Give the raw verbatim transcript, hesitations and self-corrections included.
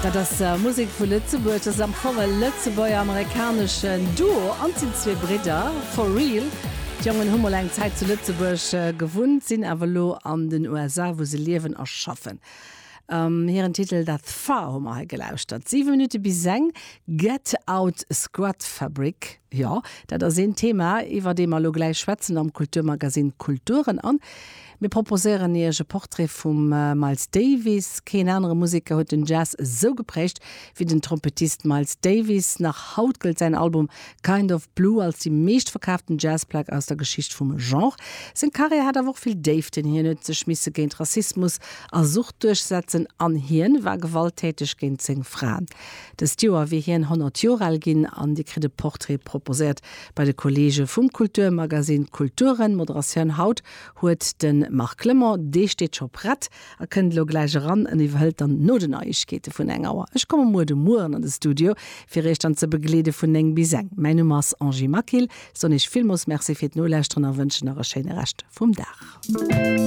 Dat ass Musek vu Lëtzebuerg, dat ass am Fong e lëtzebuerger-amerikaneschen Duo an sinn zwee Bridder, for real. D'Jongen hu mol eng Zäit zu Lëtzebuerg gewunnt, sinn awer lo an den USA, wou se liewen a schaffen. Ähm, hiren Titel dat Far hu mer hei gelauschtert. Siwe Minutte bis eng Get Out Squat Fabric. Jo, dat ass een Thema, iwwer dee mer lo gläich schwätzen am Kulturmagazin Kulturen an. Mir proposéieren Iech e Portrait vum Miles Davis. Keen anere Museker huet den Jazz esou geprägt wéi den Trompettist Miles Davis. Nach haut gëllt säin Album Kind of Blue als déi meeschtverkaaften Jazzplack aus der Geschicht vum Genre. Seng Karriär hat awer och vill Déiften. Hien huet sech misse géint Rassismus a Sucht duerchsetzen an hien war gewalttäteg géint seng Fraen. Dëst Joer wier hien honnert Joer al ginn an Dir kritt e Portrait proposéiert bei de Kolleege vum Kulturmagazin Kulturen. Moderatioun haut huet de Marc Clement, dee steet scho prett a kënnt lo gläich eran an iwwerhëlt dann no den Neiegkeete vun eng Auer. Ech komme muer de Mueren an de Studio, fir iech dann ze begleede vun néng bis eng. Mäin Numm ass Angie Maquil, soen iech villmools Merci fir d'Nolauschteren a wënschen nach e schéine Rescht vum Dag.